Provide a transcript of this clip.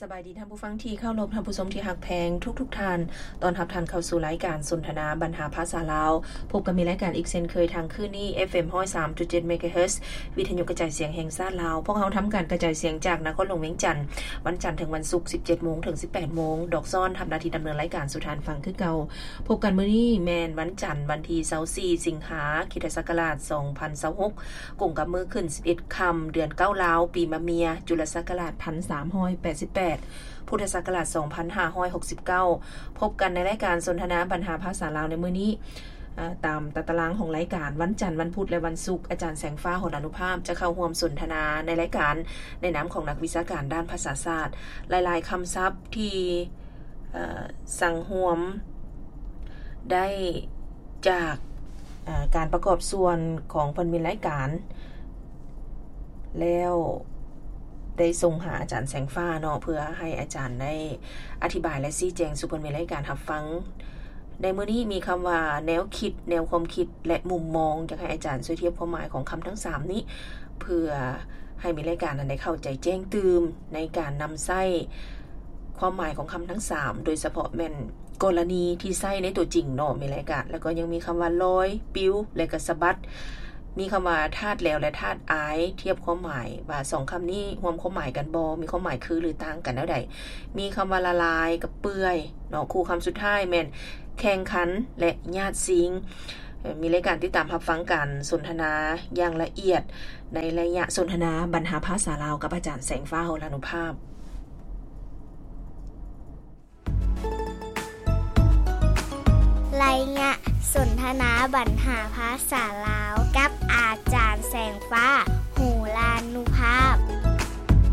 ສະບາຍດີທ່ານຜູ້ຟັງທີ່ເຄົາລົບ, ທ່ານຜູ້ຊົມທີ່ຮັກແພງທຸກໆທ່ານ. ຕ້ອນຮັບທ່ານເຂົ້າສູ່ລາຍການສົນທະນາບັນຫາພາສາລາວ. ພົບກັນມີລາຍການອີກເຊັ່ນເຄີຍທາງຄືນນີ້ ເອັຟເອັມຮ້ອຍສາມຈຸດເຈັດເມກາເຮີດ ວິທະຍຸກະຈາຍສຽງແຫ່ງຊາດລາວ. ພວກເຮົາທຳການກະຈາຍສຽງຈາກນະຄອນຫຼວງວຽງຈັນ, ວັນຈັນເຖິງວັນສຸກ ສິບເຈັດໂມງເຖິງ ສິບແປດໂມງ. ດອກຊອນທຳໜ້າທີ່ດຳເນີນລາຍການສູ່ທ່ານຟັງຄືເກົ່າ. ພົບກັນມື້ນີ້ແມ່ນວັນຈັນ ວັນທີຊາວສີ່ ສິງຫາ ຄຣິສຕະສັກກະລາດ ສອງພັນຊາວຫົກ ກົງກັບມື້ຂຶ້ນ ສິບເອັດຄ່ຳ ເດືອນເກົ້າລາວ ປີມະເມຍ ຈຸລະສັກກະລາດ ພັນສາມຮ້ອຍແປດສິບແປດ ພຸດທະສັກກະລາດ ສອງພັນຫ້າຮ້ອຍຫົກສິບເກົ້າ. ພົບກັນໃນລາຍການສົນທະນາບັນຫາພາສາລາວໃນມື້ນີ້ ເອີ ຕາມຕາຕະລາງຂອງລາຍການ ວັນຈັນ, ວັນພຸດ ແລະ ວັນສຸກ, ອາຈານແສງຟ້າ ໂຫລານຸພາບ ຈະເຂົ້າຮ່ວມສົນທະນາໃນລາຍການ ໃນນາມຂອງນັກວິຊາການດ້ານພາສາສາດ. ຫຼາຍໆຄຳສັບທີ່ ເອີ ສັງຮວມໄດ້ຈາກ ເອີ ການປະກອບສ່ວນຂອງເພິ່ນມີລາຍການ ແລ້ວໄດ້ສົ່ງຫາອາຈານແສງຟ້າເນາະ ເພື່ອໃຫ້ອາຈານໄດ້ອະທິບາຍ ແລະ ຊີ້ແຈງສູ່ເພິ່ນມີລາຍການຮັບຟັງ. ໃນມື້ນີ້ມີຄຳວ່າ ແນວຄິດ, ແນວຄວາມຄິດ ແລະ ມຸມມອງ. ຢາກໃຫ້ອາຈານຊ່ວຍທຽບຄວາມໝາຍຂອງຄຳທັງສາມນີ້ ເພື່ອໃຫ້ມີລາຍການນັ້ນໄດ້ເຂົ້າໃຈແຈ້ງຕື່ມໃນການນຳໃຊ້ຄວາມໝາຍຂອງຄຳທັງສາມ ໂດຍສະເພາະແມ່ນ ກໍລະນີທີ່ໃຊ້ໃນຕົວຈິງເນາະ ມີລາຍການ ແລ້ວກໍຍັງມີຄຳວ່າລອຍ, ປິວ ແລະ ກະສະບັດ, ມີຄຳວ່າທາດແຫຼວ ແລະ ທາດອາຍ ທຽບຄວາມໝາຍວ່າສອງຄຳນີ້ຮ່ວມຄວາມໝາຍກັນບໍ່ ມີຄວາມໝາຍຄື ຫຼື ຕ່າງກັນແນວໃດ, ມີຄຳວ່າລະລາຍກັບເປື່ອຍເນາະ. ຄູ່ຄຳສຸດທ້າຍແມ່ນແຂ່ງຂັນ ແລະ ຍາດຊິງ. ເອີ ມີລາຍການຕິດຕາມຮັບຟັງການສົນທະນາຢ່າງລະອຽດໃນໄລຍະສົນທະນາບັນຫາພາສາລາວກັບອາຈານແສງຟ້າ ໂຫລານຸພາບ. ໄລຍະສົນທະນາບັນຫາພາສາລາວ ກັບອາຈານແສງຟ້າ ໂຫລານຸພາບ.